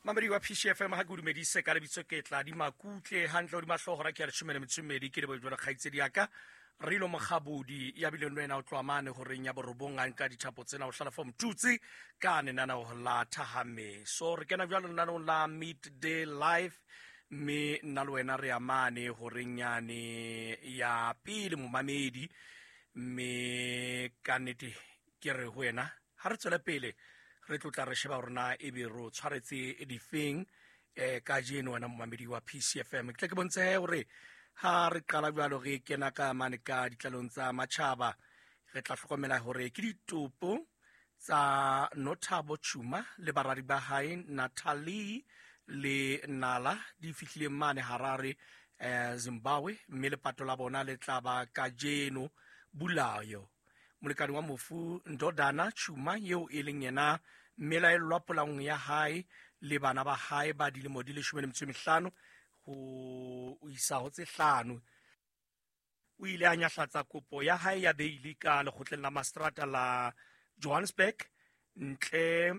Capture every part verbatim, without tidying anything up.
Mamedi wa P C F M ha ke o dumedise ka lebitso ke tla di makutle hantle hodima hlooho hora ke ya leshome le metso e mmedi ke lebohe jwalo kgaitsedi ya ka Rilo Mokgabodi ya bileng le wena o tloha mane horeng ya borobong a nka dithapo tsena o hlala for Mtutsi ka lenaneo la Thahameso. Re kena jwalo lenaneong la Midday Live mme nna le wena re ya mane horeng yane ya pele momamedi, mme ka nnete ke re ho wena ha re tswele pele re tlotla re sheba hore na ebe re o tshwaretse difeng eh kajeno wena momamedi wa P C F M. Ke tle ke bontshe hore ha re qala jwalo re kena ka mane ka ditlalong tsa matjhaba, re tla hlokomela hore ke ditopo tsa Nothabo Chuma le baradi ba hae Natalie le Nala di fihlile mane Harare eh Zimbabwe, mme lepato la bona le tla ba kajeno Bulawayo. Molekane wa mofu Ndodana Chuma eo e leng yena mmelaellwa polaong ya hae le bana ba hae ba dilemo di leshome le metso e mehlano ho isa ho tse hlano, o ile a nyahlatsa kopo ya hae ya beili ka lekgotleng la mastrata la Johannesburg ntle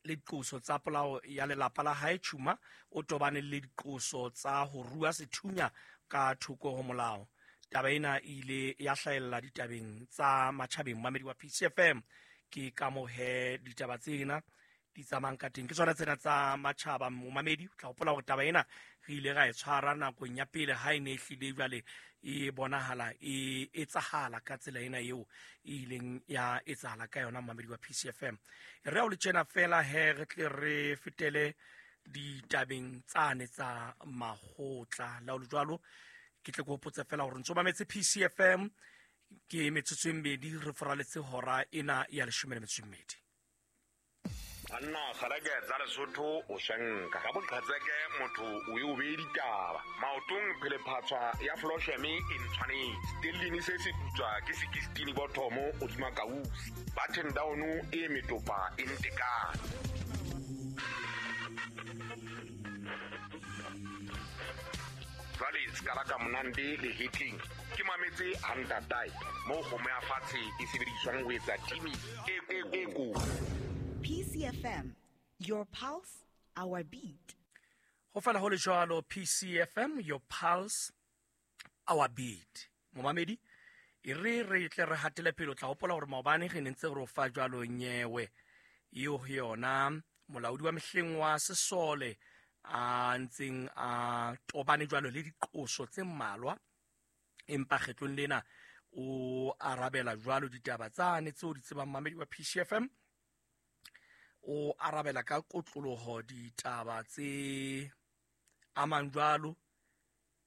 le diqoso tsa polao ya lelapa la hae. Chuma o tobane le diqoso tsa ho rua sethunya ka thoko ho molao. Taba ena e ile ya hlahella ditabeng tsa matjhabeng. Mamedi wa P C F M, ke ka moo he ditaba tsena di tsamayang ka teng. Ke tsona tsena tsa matjhaba momamedi. O tla hopola hore taba ena re ile ra e tshwara nakong ya pele ha e ne e hlile jwale e bonahala e etsahala ka tsela ena eo e ileng ya etsahala ka yona. Mamedi wa P C F M, re o le tjena fela he re tle re fetele ditabeng tsane tsa makgotla. La o le jwalo ke tle ke hopotse fela hore ntso mametse P C F M ke metsotso e mmedi re foraletse hora ena ya leshome le metso e mmedi. Banna kgareke tsa Lesotho o shanka ka boqhetseke motho o e o beye ditaba maotong phelephatswa ya Flosheme e ntshwanetse stellini se se putswa ke sixteen bothomo hodima kausi button down e metopa e ntekane. Jwale ska ka monande le hitling ke mametse hantatai mo kgomo ya fatshe e sebediswang ho etsa timi e e e ko. P C F M, your pulse, our beat. Ho fela ho le jwalo, P C F M, your pulse, our beat. Momamedi, e re re tle re hatele pele. O tla hopola hore maobane re ne ntse re o fa jwalo nyewe eo ho yona molaodi wa mehleng wa sesole a ntseng a tobane jwalo le diqoso tse mmalwa, empa kgetlong lena o arabela jwalo ditaba tsane tseo di tsebang mamedi wa P C F M. O arabela ka kotloloho ditaba tse amang jwalo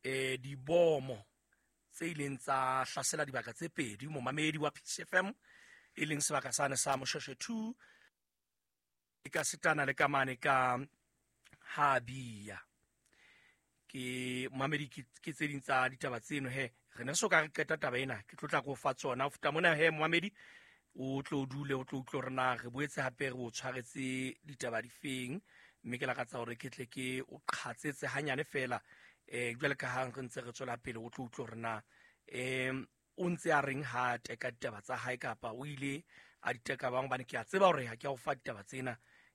eh dibomo tse ileng tsa hlasela dibaka tse pedi momamedi wa P C F M, e leng sebaka sane sa Moshweshwe two e ka setana le kamane ka Habia. Ke mamedi ke tse ding tsa ditaba tseno he re ne so ka re qeta taba ena, ke tlotla go fa tsona. O feta mona he momamedi o tlo dule o tlo utlwe hore na re boetse hape re o tshwaretse ditaba difeng, mme ke lakatsa hore ke tle ke o qhatsetse hanyane fela eh jwale ka ha re ntse re tswela pele o tlo utlwe hore na em o ntse a reng ha teka ditaba tsa hae kapa o ile a di teka bang, hobane ke a tseba hore ha ke a o fa ditaba tsena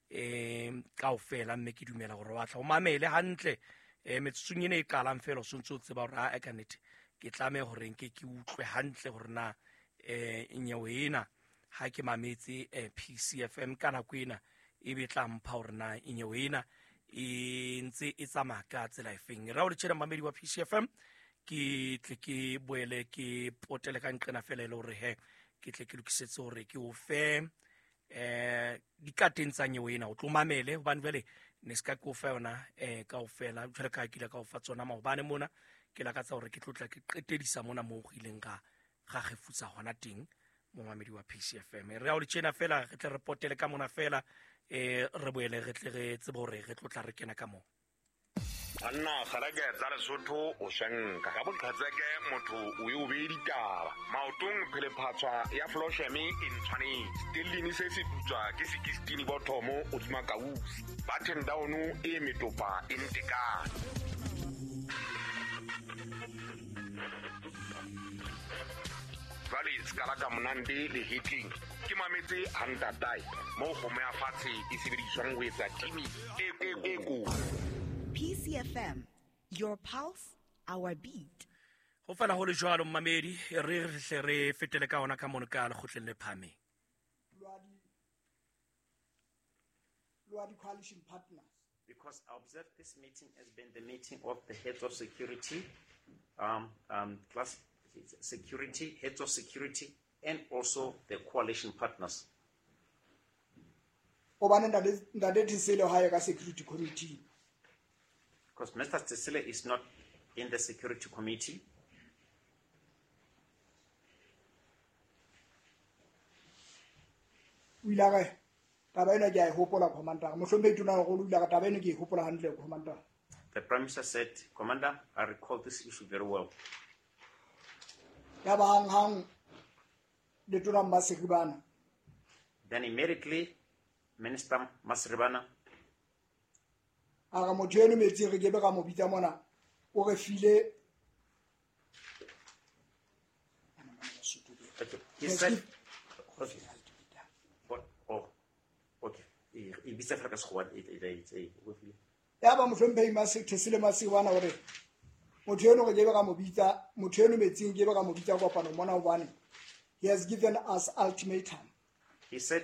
em kaofela, mme ke dumela hore wa tla o mamele hantle eh metsotsong ena e qalang fela o sontse o tseba hore ha ka nnete ke tlameha hore nke ke utlwe hantle hore na eh nyewe ena ha ke mametse eh, P C F M ka nako ena e be tla mpha hore na nyewe ena e ntse e tsamaya ka tsela efeng. Ra o le tjena mamedi wa P C F M, ke tle ke boele ke potele ka nqena fela e le hore he ke tle ke lokisetse hore ke o fe eh dikateng tsa nyewe ena o tlo mamele, hobane jwale ne se ka ke o fa yona eh kaofela jwale ka ke ile ka o fa tsona maobane mona. Ke lakatsa hore ke tlotla ke qetedisa mona moo go ileng ga ga gefutsa hona teng momamedi wa P C F M. Re a o le tjena fela re tle re potele ka mona fela eh re boele re tle re tsebe hore re tlotla re kena ka moo. Banna kgareke tsa Lesotho o shanka ka boqhetseke motho o e o beye ditaba maotong phelephatswa ya Flosheme e ntshwanetse stellini se se putswa ke sixteen bothomo hodima kausi button down e metopa e ntekane. Jwale ska ka monande le hitling ke mametse ha ntatae moo kgomo ya fatshe e sebediswang ho etsa timi e e ko. P C F M, your pulse, our beat. Ho fela ho le jwalo, mmamedi, re re hle re fetele ka ona ka mono ka lekgotleng le phahameng. Lwa di coalition partners. Because I observed this meeting has been the meeting of the heads of security, um, um, class security, heads of security, and also the coalition partners. Hobane ntate ntate Thesele ha ye ka security committee. Because Mister Tsesele is not in the security committee. O ile a re taba ena ke a e hopola, commander. Mohlomphehi Tonakgolo o ile a re taba ena ke e hopola hantle, commander. The Prime Minister said, "Commander, I recall this issue very well." Ya ba hanghang letona Maseribane Then immediately, Minister Maseribane a re motho eno Metsing re kebe ra mo bitsa mona o re file Okay. He said, okay. What? Oh, okay. E e bitsa fela ka Sekgowa, e- e- e- e- o file. Ya ba mohlomphehi Thesele Maseribane hore motho eno re kebe ra mo bitsa motho eno Metsing kebe ra mo bitsa kopanong mona hobane he has given us ultimatum. He said,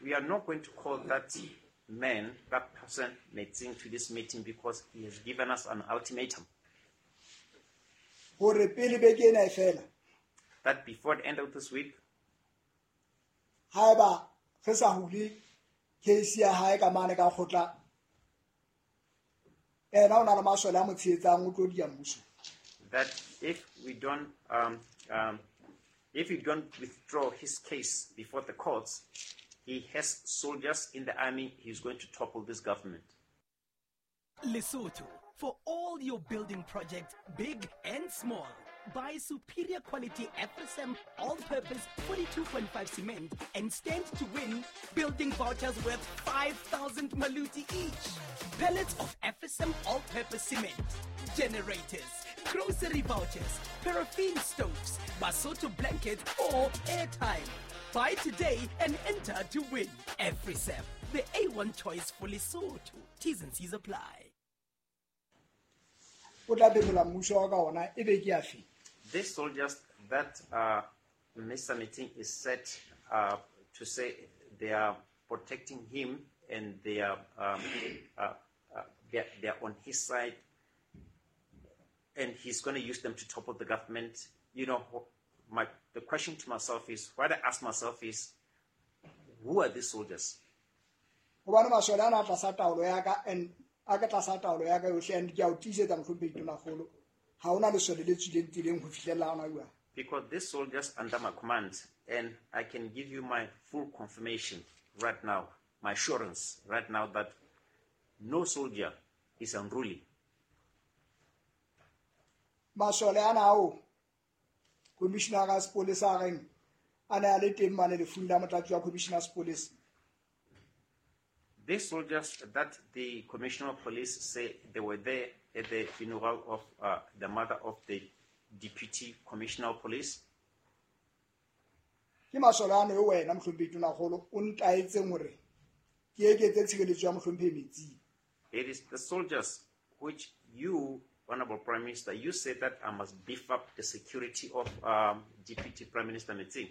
"We are not going to call that man, that person, Metsing, to this meeting because he has given us an ultimatum hore pele beke ena e fela that before the end of this week, haeba re sa hule case ya hae ka mane ka kgotla ena o na le masole a mo tshehetsang o tlo dia mmuso. That if we don't, um, um, if we don't withdraw his case before the courts, he has soldiers in the army. He's going to topple this government." Lesotho, for all your building projects, big and small. Buy superior quality F S M all-purpose forty-two point five cement and stand to win building vouchers worth five thousand maluti each. Pallets of F S M all-purpose cement, generators, grocery vouchers, paraffin stoves, Basotho blanket or airtime. Buy today and enter to win. F S M, the A one choice for Lesotho. T's and C's apply. O tla phetola mmuso wa ka ona e be ke ya fe? These soldiers that uh, Mister Metsing is set uh, to say they are protecting him and they are, um, uh, uh, they are, they are on his side and he's going to use them to topple the government. You know, my, the question to myself is, what I ask myself is, who are these soldiers? Hobane masole ana a tlasa taolo ya ka and a ka tlasa taolo ya ka yohle and ke a o tiisetsa mohlomphehi Tonakgolo ha hona lesole le tswileng tseleng ho fihlella hona jwale. Because these soldiers under my command, and I can give you my full confirmation right now, my assurance right now that no soldier is unruly. Masole ana ao commissioner ya sepolesa a reng a ne a le teng mane lefung la motlatsi wa commissioner sepolesa. These soldiers that the commissioner of police say they were there at the funeral of uh, the mother of the deputy commissioner of police, ke masole ano e wena mohlomphehi Tonakgolo o ntaetseng hore ke eketse tshireletso ya mohlomphehi Metsing. It is the soldiers which you, Honorable Prime Minister, you said that I must beef up the security of um, Deputy Prime Minister Metsing.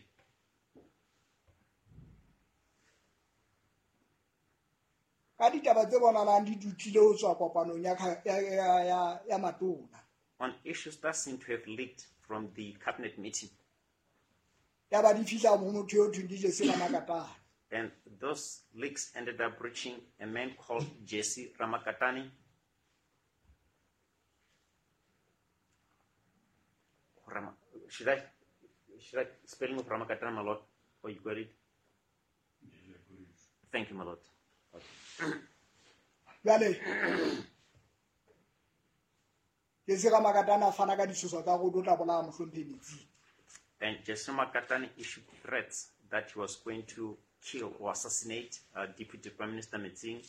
Ka ditaba tse bonahalang di dutlile ho tswa kopanong ya kha- ya ya ya, ya matona on issues that seem to have leaked from the cabinet meeting. Ya ba di fihla ho motho eo thweng ke Jesse Ramakatane. And those leaks ended up reaching a man called Jesse Ramakatani. Rama, should I should I spelling of Ramakatani, my lord? Or you got it? Thank you, my lord. Jwale Jesse Ramakatane a fana ka ditshoso tsa hore o tla bolaya mohlomphehi Metsing. And Jesse Ramakatani issued threats that he was going to kill or assassinate uh, Deputy Prime Minister Metsing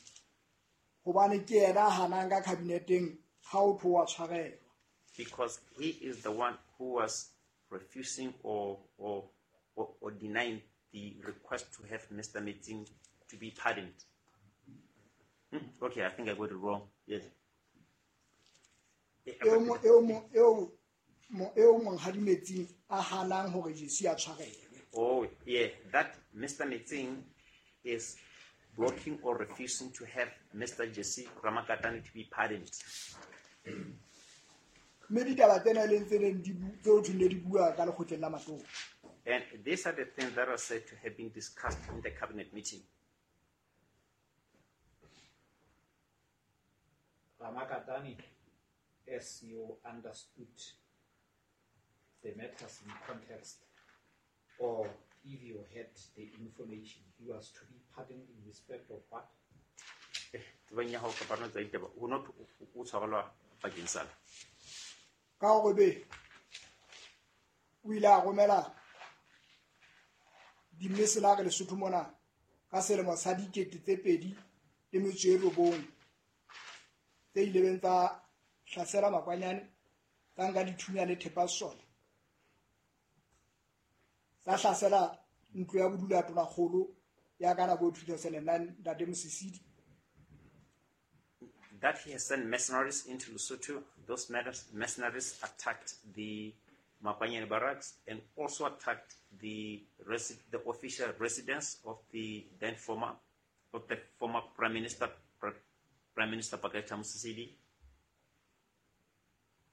hobane ke yena a hanang ka kabineteng ha o tho wa tshwarelwa because he is the one who was refusing or, or, or, or denying the request to have Mister Metsing to be pardoned. Hmm? Okay, I think I got it wrong. Yes. Eo mo- eo mo- eo mo- eo monghadi Metsing a hanang hore Jesse a tshwarelwe. Oh, yeah, that Mister Metsing is blocking or refusing to have Mister Jesse Ramakatane to be pardoned. Mme ditaba tsena e leng tse neng di bu-, tseo thweng ne di bua ka lekgotleng la matona. And these are the things that are said to have been discussed in the cabinet meeting. Ramakatane, as you understood the matters in context, or if you had the information, he was to be pardoned in respect of what? Eh, tsebang ya hao kapa rona tsa ditaba, ho no thwe o, o tshwarelwa bakeng sa. Ka hore be o ile a romela di-mercenary Lesotho mona ka selemo sa dikete tse pedi le metso e robong tse ileng tsa hlasela Makwanyane, tsa nka dithunya le thepa sesole, tsa hlasela ntlo ya bodulo ya Tonakgolo ya ka nako eo two thousand and nine, Ntate Mosisili. That he has sent mercenaries into Lesotho. Those mercenaries attacked the Makwanyane barracks and also attacked the resi-, the official residence of the then former, of the former Prime Minister, Prime Minister Pakalitha Mosisili.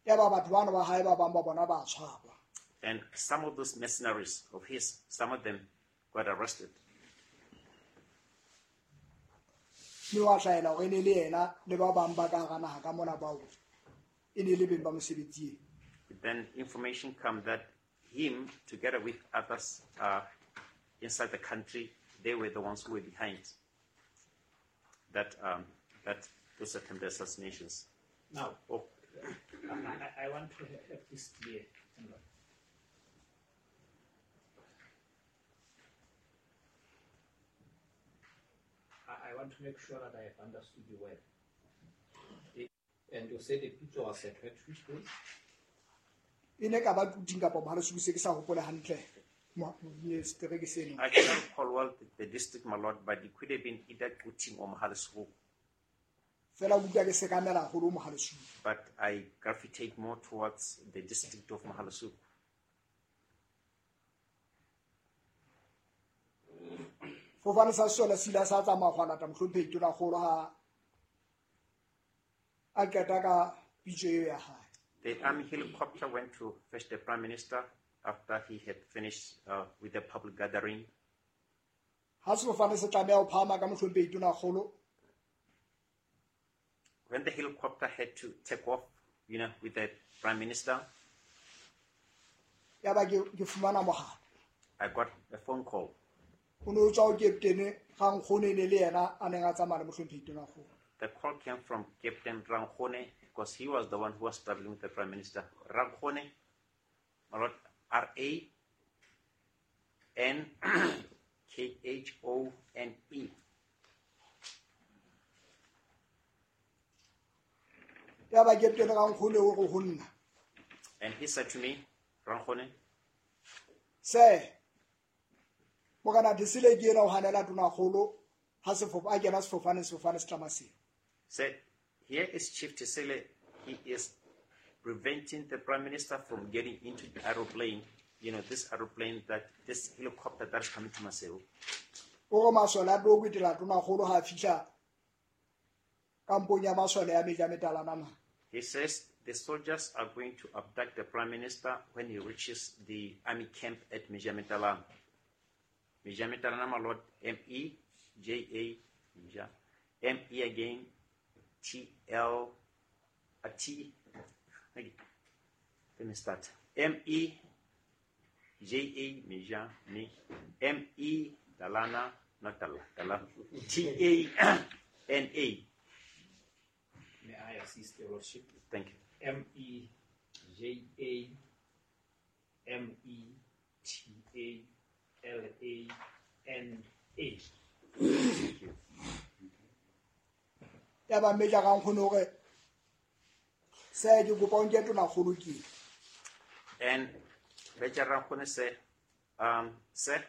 Ya ba batho bana ba hae ba bang ba bona ba tshwarwa. And some of those mercenaries of his, some of them got arrested. Mme wa hlahela hore e ne le yena le ba bang ba ka hara naha ka mona bao e ne le beng ba mosebetsi ena. Then information came that him, together with others, uh, inside the country, they were the ones who were behind that, um, that those attempted assassinations. Now, Oh. I, I, I want to have this clear. I, I want to make sure that I have understood you well. And you said the picture was at which place? E ne ka ba Quthing kapa Mohale's Hoek, se ke sa hopole hantle. Mo-, ne setereke seno. I cannot recall well the, the district, my lord, but it could have been either Quthing or Mohale's Hoek. Fela ke utlwa ke sekamela haholo Mohale's Hoek. But I gravitate more towards the district of Mohale's Hoek. Fofane sa sesole se ile sa tsamaya go lata mohlomphehi Tonakgolo ha a qeta ka pitso eo ya hae. The army helicopter went to fetch the Prime Minister after he had finished, uh, with the public gathering. Ha sefofane se tlameha ho phahama ka mohlomphehi Tonakgolo. When the helicopter had to take off, you know, with the Prime Minister, Ya ba ke, ke fumana mohala. I got a phone call. O ne o tswa ho Captain Rankgone ne le yena a neng a tsamaya le mohlomphehi Tonakgolo. The call came from Captain Rankgone because he was the one who was traveling with the Prime Minister. Rankgone, my lord, R A N K H O N E. Ya ba Captain Rankgone o re ho nna. And he said to me, Rankgone, Sir, Morena Thesele ke yena o hanela Tonakgolo ha sefofane, a kena sefofane, sefofane se tla Maseru. Said, here is Chief Thesele. He is preventing the Prime Minister from getting into the aeroplane, you know, this aeroplane, that this helicopter that is coming to Maseru. O re masole a tlo kwetela Tonakgolo ha a fihla kampong ya masole ya Meja Metalana mane. He says the soldiers are going to abduct the Prime Minister when he reaches the army camp at Meja Metalana. Meja Metalana, my lord, M E J A, Meja, M E again, T L, uh, T, okay. Let me start. M E J A, Meja, me, M E, Dalana, not Dala, Dala, T A N A. May I assist, Your Lordship? Thank you. M E J A M E T A L A N A. Thank you. Ya ba Meja Rankgone hore se ke kopa o nke Tonakgolo ke. And Major Rankgone said, um, sir,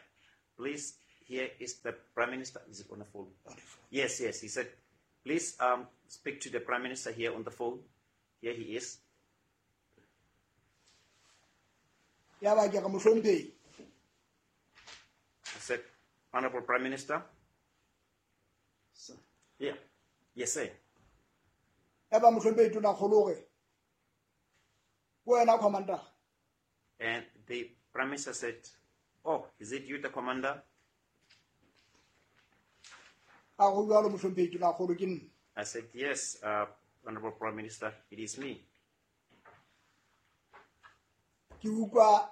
please, here is the Prime Minister. Is it on the phone? On the phone. Yes, yes. He said, please um, speak to the Prime Minister here on the phone. Here he is. Ya ba ke re mohlomphehi. I said, Honorable Prime Minister. Sir. Yeah. Yes, sir. Ya ba mohlomphehi tonakgolo hore ke wena commander. And the Prime Minister said, oh, is it you, the commander? A go jwalo mohlomphehi tonakgolo ke nna. I said, yes, uh, Honorable Prime Minister, it is me. Ke utlwa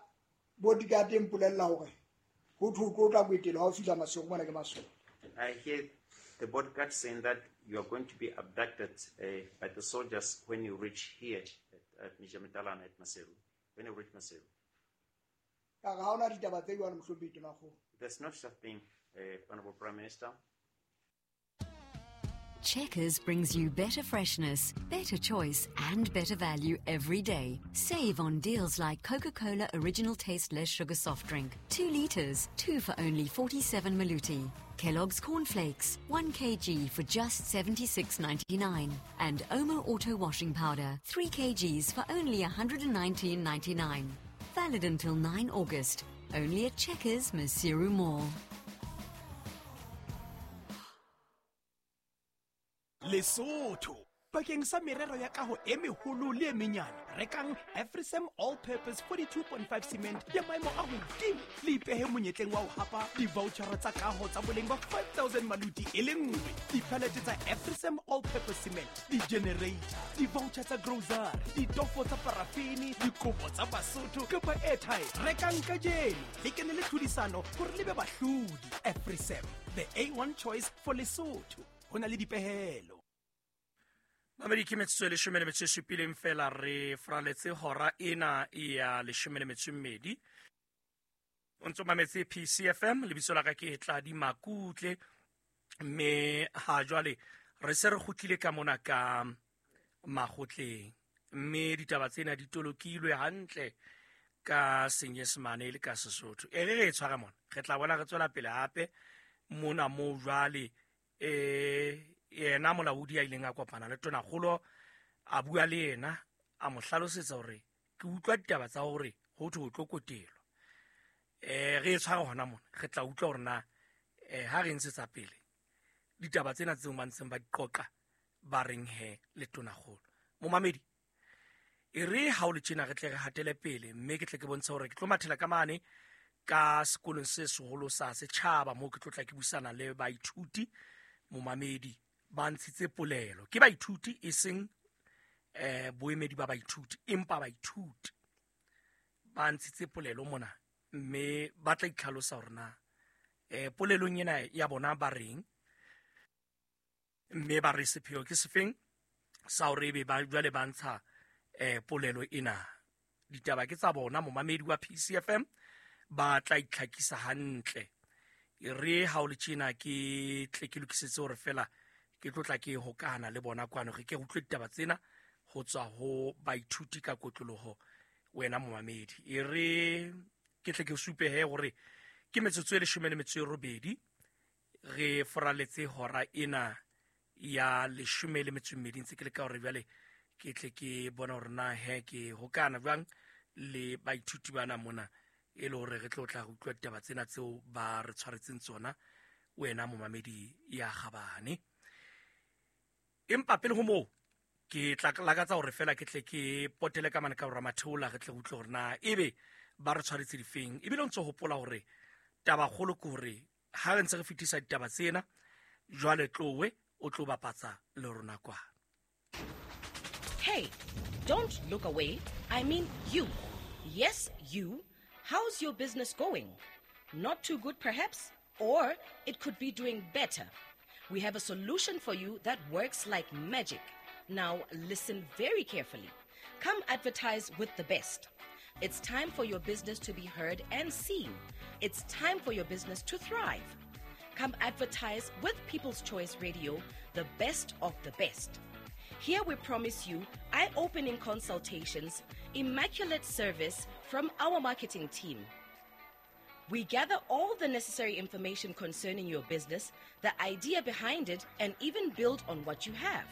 bodyguard e mpolella hore ho thwe o tlo tla kwetela ha o fihla Maseru mona ke masole. I hear the bodyguard saying that you are going to be abducted, uh, by the soldiers when you reach here at, at Njamatalane at Maseru. When you reach Maseru. Ka re ha hona ditaba tse jwalo mohlomphehi tonakgolo. There's no such thing, uh, Honorable Prime Minister. Checkers brings you better freshness, better choice, and better value every day. Save on deals like Coca-Cola Original Taste Less Sugar Soft Drink, two litres, two for only forty-seven maluti. Kellogg's Cornflakes, one kilogram for just seventy-six ninety-nine. And Omo Auto Washing Powder, three kilograms for only a hundred and nineteen ninety-nine. Valid until nine August. Only at Checkers, Maseru Mall. Lesotho bakeng sa merero ya kaho e meholo le e menyane, rekang Afrisem All Purpose forty-two point five cement ya maemo a hodimo le ipehe monyetleng wa ho hapa di-vouchera tsa kaho tsa boleng ba five thousand maluti e le nngwe, di-pallet tsa Afrisem All Purpose cement, di-generator, di-voucher tsa grocery, ditofo tsa parafini, dikopo tsa Basotho kapa airtime. Rekang kajeno le kene le tlhodisano hore le be bahlodi. Afrisem, the A one choice for Lesotho. Ho na le dipehelo. Mamedi ke metsotso e leshome le metso e supileng fela re fraletse hora ena ya leshome le metso e mmedi. O ntso mametse P C F M, lebitso la ka ke Tladi Makutle, mme ha jwale re se re kgutlile ka mona ka makgotleng, mme ditaba tsena di tolokilwe hantle ka Senyesemane le ka Sesotho. E re re e tshware mona, re tla bona re tswela pele hape mona moo jwale eh yena molaodi a ileng a kopana le tonakgolo a bua le yena a mo hlalosetsa hore ke utlwa ditaba tsa hore ho thwe o tlo kotelwa. Eh re e tshware hona mona, re tla utlwa hore na eh ha re ntshetsa pele ditaba tsena tseo ba ntseng ba di qoqa ba reng he le tonakgolo. Momamedi, e re ha o le tjena re tle re hatele pele, mme ke tle ke bontshe hore ke tlo mathela ka mane ka sekolong se seholo sa setjhaba moo ke tlo tla ke buisana le baithuti. Momamedi ba ntshitse polelo ke baithuti e seng eh boemedi ba baithuti, empa baithuti ba ntshitse polelo mona, mme ba tla itlhalosa hore na eh polelong ena ya bona ba reng, mme ba re sepheo ke sefeng sa hore ebe ba jwale ba ntsha eh polelo ena. Ditaba ke tsa bona momamedi wa P C F M, ba tla itlhakisa hantle. E re ha o le tjena ke tle ke lokisetse hore fela ke tlo tla ke hokahana le bona kwano, re ke utlwe ditaba tsena ho tswa ho baithuti ka kotloloho wena momamedi. E re ke tle ke supe he hore ke metsotso e leshome le metso e robedi re foraletse hora ena ya leshome le metso e mmedi, ntse ke leka hore jwale ke tle ke bona hore na he ke hokahana jwang le baithuti bana mona, e le hore re tlo tla re utlwa ditaba tsena tseo ba re tshwaretseng tsona wena momamedi ya kgabane. Empa pele ho moo ke tla lakatsa hore fela ke tle ke potele ka mane ka hore Matheola re tle re utlwe hore na ebe ba re tshwaretse difeng. Ebile o ntso hopola hore taba kgolo ke hore ha re ntse re fetisa ditaba tsena jwale tlowe o tlo bapatsa le rona kwa. Hey, don't look away. I mean you. Yes, you. How's your business going? Not too good, perhaps? Or it could be doing better. We have a solution for you that works like magic. Now, listen very carefully. Come advertise with the best. It's time for your business to be heard and seen. It's time for your business to thrive. Come advertise with People's Choice Radio, the best of the best. Here we promise you eye-opening consultations, immaculate service from our marketing team. We gather all the necessary information concerning your business, the idea behind it, and even build on what you have.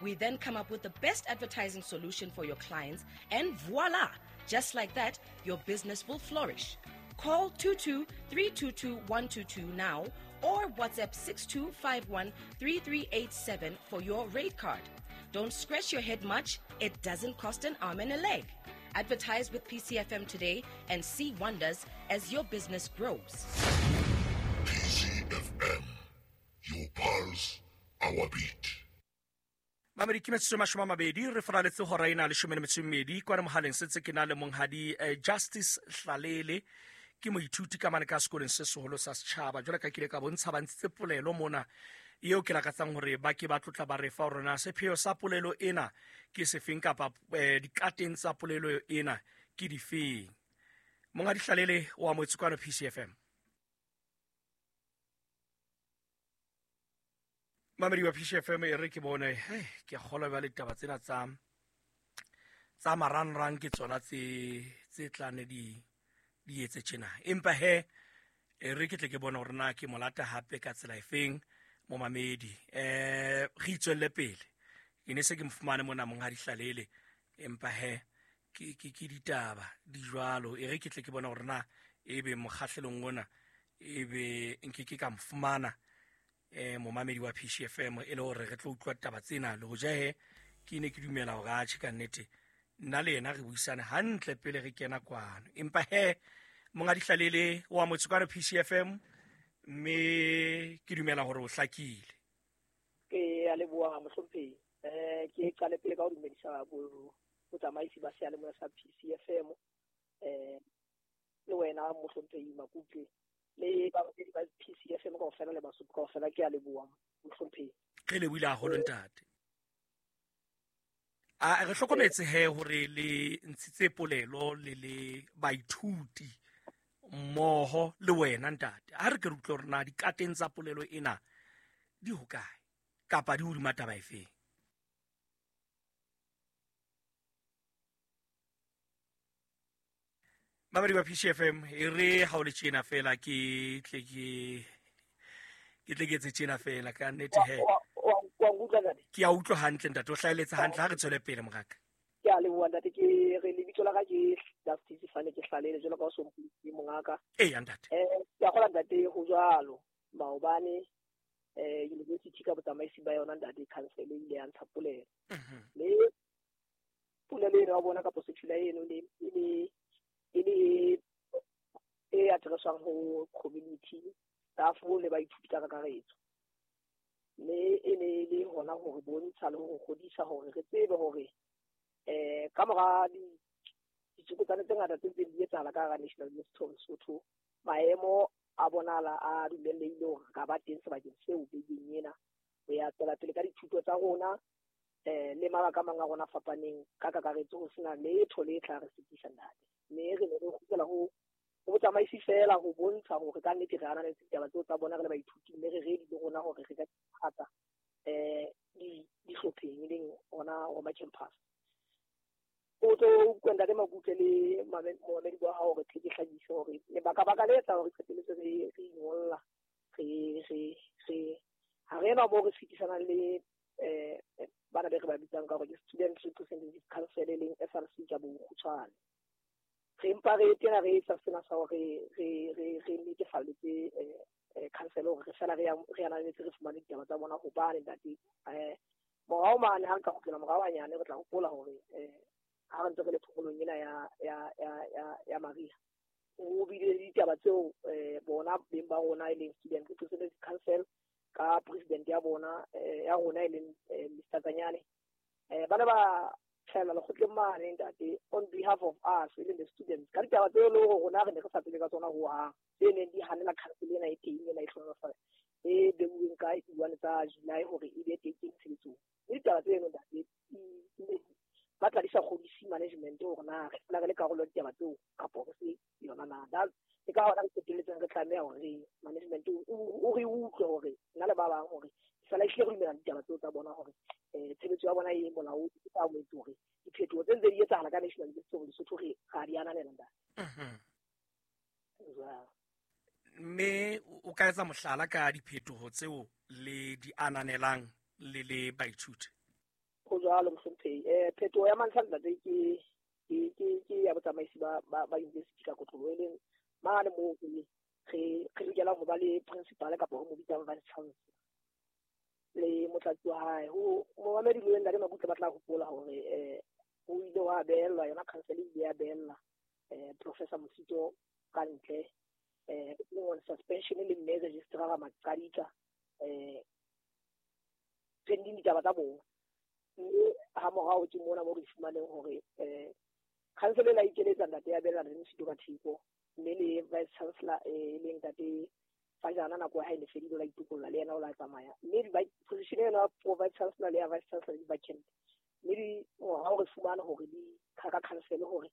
We then come up with the best advertising solution for your clients, and voila! Just like that, your business will flourish. Call two two three two two one two two now or WhatsApp six two five one three three eight seven for your rate card. Don't scratch your head much. It doesn't cost an arm and a leg. Advertise with P C F M today and see wonders as your business grows. P C F M, your pulse, our beat. Mamedi ke metsotso e mashome a mabedi re faraletse hora ena leshome le metso e mmedi kwana mohaleng setse ke na le monghadi eh, Justice Hlalele ke moithuti ka mane ka sekolong se seholo sa setjhaba. Jwale ka kile ka bontsha ba ntshitse polelo mona eo ke lakatsang hore ba ke ba tlotla ba re fa rona sepheo sa polelo ena ke sefeng kapa eh, dikateng tsa polelo ena ke difeng. Monghadi Hlalele o amohetse kwano P C F M. Mamedi wa P C F M e re ke bone hey, ke kgolwa ba le ditaba tsena tsa tsa marangrang ke tsona tse tse tlane di di etse tjena. Empa he e re ke tle ke bone hore na ke molata hape ka tsela efeng momamedi. Eh re itswelle pele. Ke ne se ke mfumane mona monghadi Hlalele empa he ke ke ke ditaba di jwalo. E re ke tle ke bone hore na ebe mokgahlelong ona ebe nke ke ka mfumana eh momamedi wa P C F M e le hore re tlo utlwa taba tsena le hoja he ke ne ke dumela hore a tjhe ka nnete nna le yena re buisane hantle pele re kena kwano. Empa he monghadi Hlalele wa motse kwano P C F M mme ke dumela hore o hlakile. Ke a leboha mohlomphehi. Eh ke qale pele ka ho dumedisa botsamaisi ba seyalemoya sa P C F M eh le wena mohlomphehi Makutle le ba ba P C F M kaofela le Basotho kaofela ke a leboha mohlomphehi. Re lebohile haholo ntate. A re hlokometse he hore le ntshitse polelo le le baithuti mmoho le wena ntate. Ha re ke re utlwe hore na dikateng tsa polelo ena di hokae kapa di hodima taba efeng. Mamedi wa P C F M e re ha o le tjena fela ke tle ke ke tle ke etse tjena fela ka nnete he. Ke a utlwa hantle ntate, o hlaeletse hantle. Ha re tswele pele moraka. Ke a leboha ntate. Ke re lebitso la ka ke Justice Fane ke Hlalele jwalo ka o so mpitse mongaka. Eya ntate. Eh ke a kgola ntate ho jwalo. Maobane eh university ka botsamaisi ba yona ntate council e ile ya ntsha polelo. Le polelo ena wa bona ka positshula eno le le e le e addresswang ho community staff le baithuti ka kakaretso. Mme e ne e le hona hore bontsha le ho kgodisa hore re tsebe hore eh ka mora ditsokotsane tse ngata tse ntseng di etsahala ka hara National University of Lesotho, maemo a bonala a dumellehile hore re ka ba teng sebakeng seo bekeng ena ho ya tswela pele ka dithuto tsa rona eh le mabaka a mang a rona fapaneng ka kakaretso ho sena letho le tla re sitisa ntate. Mme re ne re kgutlela ho ho botsamaisi fela ho bontsha hore ka nnete re ananetse ditaba tseo tsa bona re le baithuti mme re ready le rona hore re ka thata eh di dihlopheng e leng ona Roma campus. O tlo utlwa ntate Makutle le momamedi wa hao hore tle ke hlakise hore lebaka-baka le etsa hore qetelletse re re ingolla re re re ha re ena moo re fetisanang le eh bana be re ba bitsang ka hore ke Student Representative Council e leng S R C ka bokgutshwane. Re empa re tena re etsa sena sa hore re re re netefalletse eh council hore re fela re re ananetse re fumane ditaba tsa bona hobane ntate eh morao mane ha re ka kgutlela morao hanyane re tla hopola hore eh ha re ntse re le phomolong ena ya ya ya ya ya mariha o bile le ditaba tseo eh bona beng ba rona e leng Student Representative Council ka president ya bona ya rona e leng Mister Tsanyane eh bana ba tlhela lekgotleng mane ntate on behalf of us e leng the students ka ditaba tseo le hore rona re ne re sa tsebe ka tsona hohang tse neng di hanela council ena e teng ena e hlohonolofatsa e beuweng ka di-one tsa July hore e be teng tshebetsong. Mme ditaba tseno ntate ba tla di sa kgodise management hore na re fela re le karolo ya ditaba tseo kapo re se yona na. Ke ka hona re qetelletseng re tlameha hore management o re utlwe hore nna le ba bang hore fela ehlile re dumela ditaba tseo tsa bona hore eh tshebetso ya bona e molaong e tla boetse hore diphetoho tse ntse di etsahala ka National University of Lesotho re ga di ananela ntate. Mme o ka etsa mohlala ka diphetoho tseo le di ananelang le le baithuti? Ho jwalo mohlomphehi. Eh phetoho ya mantlha ntate ke ke ke ke ya botsamaisi ba ba ba university ka kotloloho, e leng mane moo re re re lokelang ho ba le principal kapa ho mo bitsang vice chancellor le motlatsi wa hae. Ho momamedi le ntate Makutle ba tla hopola hore eh ho ile wa beellwa yona council e ile ya beella eh Professor Mosito ka ntle eh on suspension le mme registrar Maqadika eh pending ditaba tsa bona. Mme ha morao ke mona mo re fumaneng hore eh council e la ikeletsa ntate ya beella re Mosito ka theko, mme le vice chancellor e leng ntate Fajana nako ya hae ne fedile la itokolla le yena o la tsamaya. Mme di position ena pro vice chancellor le ya vice chancellor di vacant. Mme di ha re fumana hore di ka council hore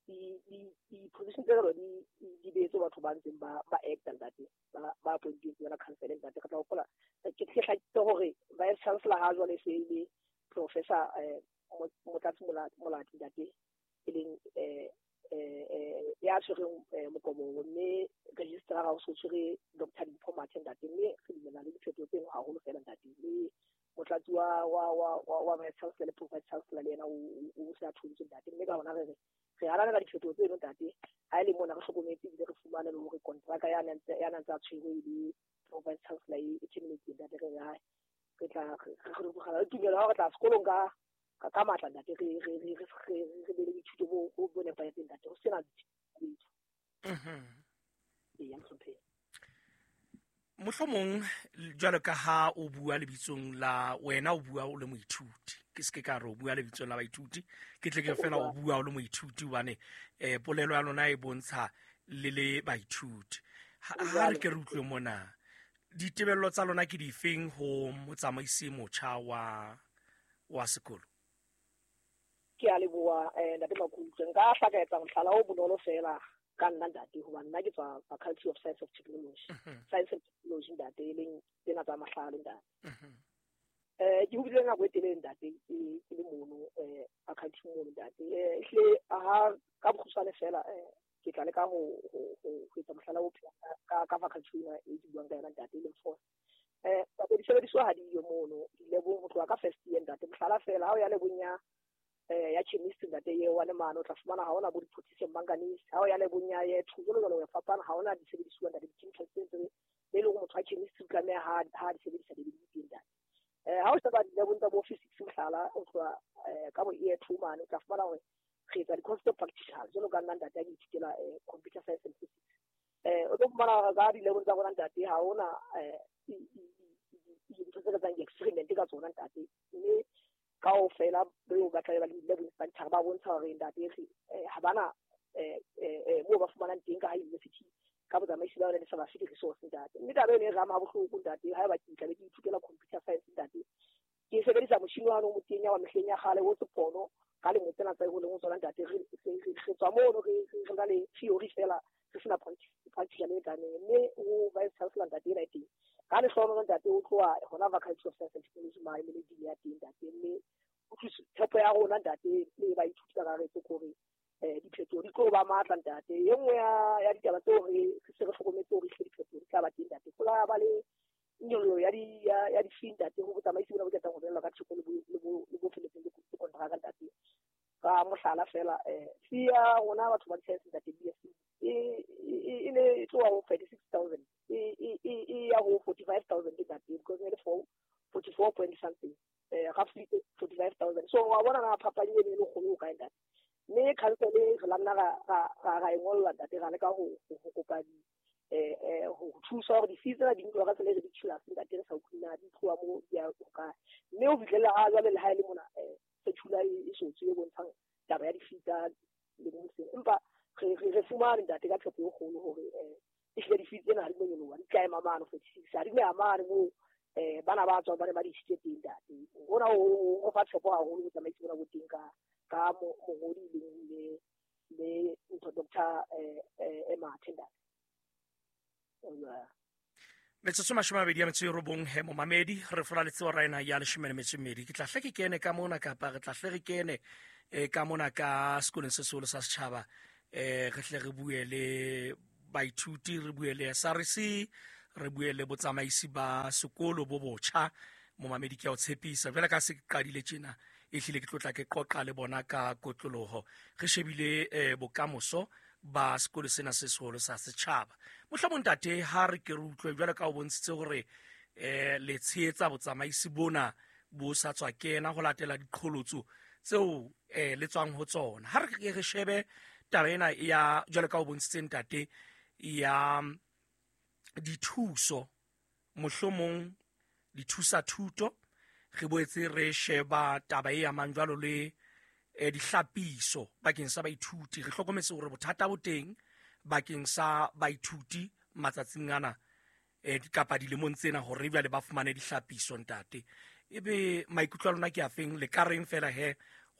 di di di position tseo di di beetse batho ba ntseng ba ba acta ntate ba ba appointile yona council ntate. Ka tla hopola ke ke hlakile hore vice chancellor ha jwale se ile professor eh Motlatsi Molati ntate e leng eh eh ya tshwereng mokomo, mme registrar o so tshwere Doctor Dimpho Mathe ntate. Mme re dumela le diphetoho tseno haholo fela ntate. Le motlatsi wa wa wa wa vice chancellor le pro vice chancellor le yena o se a thontswe ntate. Mme ka hona re re re ananela diphetoho tseno ntate. Ha e le mona re hlokometse ebile re fumane le hore kontraka ya nang ya nang tsa tshwerwe le pro vice chancellor e terminate ntate. Re re re tla re re re tumelo ha re tla sekolong ka ka matla ntate, re re re re re be le dithuto bo bo nepahetseng ntate, ho sena dithuto. Mhm. Ee, mohlomphehi. Mohlomong jwalo ka ha o bua lebitsong la wena, o bua o le moithuti, ke se ke ka re o bua lebitsong la baithuti, ke tle ke fela o bua o le moithuti hobane eh polelo ya lona e bontsha le le baithuti. Ha re ke re utlwe mona ditebello tsa lona ke difeng ho motsamaisi motjha wa wa sekolo? Ke a leboha eh ntate Makutle. Nka hla ka etsa mohlala o bonolo fela ka nna ntate, hobane nna ke tswa Faculty of Science of Technology, Science and Technology ntate, e leng tsena tsa mahlale ntate. Eh ke hobile nako e telele ntate ke le mono eh faculty mono ntate. Eh ehlile ha ka bokgutshwane fela eh ke tla leka ho ho ho etsa mohlala o ka ka faculty ena e ke buang ka yona ntate, e leng four. Eh disebediswa ha di yo mono dilebong ho tloha ka first year ntate. Mohlala fela ha o ya lebong ya eh ya chemistry ntate ye wa le mano, o tla fumana ha ona bo di-potassium manganese. Ha o ya lebong ya ye two jwalo jwalo, ya fapana, ha ona disebedisuwa ntate, di-chemicals tse tse le leng motho wa chemistry o tlameha ha ha di sebedisa di di teng ntate. Eh ha o sheba dilebong tsa bo physics mohlala o tloha ka bo year two mane, o tla fumana hore re etsa di-course tse practical jwalo ka nna ntate a ke ithutela computer science and physics. Eh o tlo fumana ka dilebong tsa rona ntate ha ona eh dintho tse re etsang di-experiment ka tsona ntate. Mme kaofela beo ba tla ba le lab instructor ba bontsha hore ntate ha bana eh eh moo ba fumanang teng ka ha university ka botsamaisi ba yona le sa ba fe di-resource ntate. Mme taba eno e rama bohloko ntate. Ha eba ke tlabe ke ithutela computer science ntate, ke sebedisa motjhini wa o motenya wa mehleng ya kgale o sepono ka lemo tsena tsa ho leng ho tsona ntate. Re re tswa mono re re na le theory fela, re sena practical e lekaneng. Mme ho vice chancellor ntate ena e teng ka lehlohonolo ntate, o tloha hona Faculty of Science and Technology mane le dean ya teng ntate. Mme tshepo ya rona ntate le baithuti ka kakaretso ke hore eh diphetoho di tlo ba matla ntate. E nngwe ya ya ditaba tseo re se re hlokometse hore ehlile diphetoho di tla ba teng ntate. Ho la ba le nyollo ya di ya ya di-fee ntate ho botsamaisi bona bo qetang ho belwa ka theko le bo le bo le bo feletseng le kontraka ntate. Ka mohlala fela eh fee ya rona batho ba di-science ntate B S C e e ne e tloha ho thirty-six thousand e e e ya ho forty-five thousand ntate, because ne le four forty-four point something eh roughly forty-five thousand. So wa bona na phapang eno e le kgolo ho kae ntate. Mme council re la nna ra ra ra e ngolla ntate, ra leka ho ho kopa di eh eh ho thusa hore di-fees tsena di nkuwa ka tsela e ridiculous ntate, re sa utlwe na di tloha mo di ya ho kae. Mme ho fihlela ha jwale le ha e le mona eh circular e sotswe e bontshang taba ya di-fee tsa lemong sena. Empa re re fumane ntate ka tshepo e kgolo hore eh ehlile di-fee tsena ha di no nyoloha, di tla ema mane forty-six, ha di no ya mane moo eh bana ba tswang ba ne ba di isitse teng ntate. Hona ho fa tshepo haholo botsamaisi bona bo teng ka ka mongodi leng le le ntho Doctor eh eh Mathe ntate. Metsotso mashome a mabedi a metso e robong he momamedi, re fola letseo ra ena ya leshome le metso e mmedi. Ke tla hle ke kene ka mona kapa re tla hle re kene eh ka mona ka sekolong se seholo sa setjhaba, eh re hle re bue le baithuti, re bue le S R C, re bue le botsamaisi ba sekolo bo botjha. Momamedi ke a o tshepisa jwale ka se ke qadile tjena, e hlile ke tlotla ke qoqa le bona ka kotloloho. Re shebile eh, bokamoso ba sekolo sena se seholo sa setjhaba. Mohlomong ntate, ha re ke re utlwe jwale ka o bontshitse hore eh le tshehetsa botsamaisi bona bo sa tswa kena ho latela diqholotso tseo eh le tswang ho tsona. Ha re ke re shebe taba ena ya jwale ka o bontshitse ntate ya dithuso, mohlomong dithusa thuto, re boetse re sheba taba e amang jwalo le eh, dihlapiso bakeng sa baithuti. Re hlokometse hore bothata bo teng bakeng sa baithuti matsatsing ana eh, kapa dilemong tsena hore jwale ba fumane dihlapiso ntate. Ebe maikutlo a lona ke afeng, le ka reng fela he